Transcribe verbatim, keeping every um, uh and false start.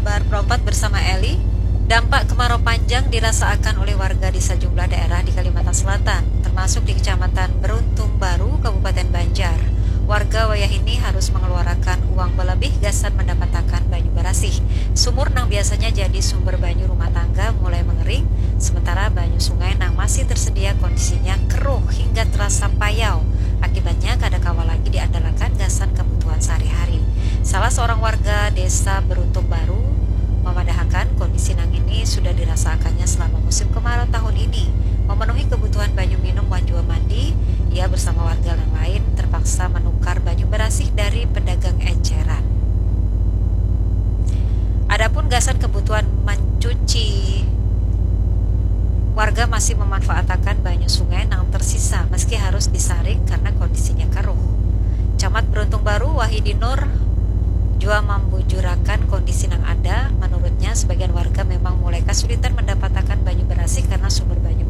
Bar Pro empat bersama Eli. Dampak kemarau panjang dirasaakan oleh warga di sajumlah daerah di Kalimantan Selatan, termasuk di Kecamatan Beruntung Baru, Kabupaten Banjar. Warga wayahini harus mengeluarakan uang balabih gasan mandapatakan banyu barasih. Sumur nang biasanya jadi sumber banyu rumah tangga mulai mengering, sementara banyu sungai nang masih tersedia kondisinya keruh hingga terasa payau. Akibatnya kada kawa lagi diandalakan gasan kabutuhan sehari-hari. Salah seorang warga Desa Beruntung Baru mamadahakan kondisi nangini sudah dirasaakannya selama musim kemarau tahun ini. Memenuhi kebutuhan banyu minum wan jua mandi, ia bersama warga yang lain terpaksa menukar banyu barasih dari pedagang eceran. Adapun gasan kebutuhan mencuci, warga masih memanfaatakan banyu sungai nang tersisa meski harus disaring karena kondisinya keruh. Camat Beruntung Baru, Wahidi Nur, jua mambujurakan kondisi nang ada. Menurutnya, sebagian warga memang mulai kasulitan mendapatakan banyu barasih karena sumber banyu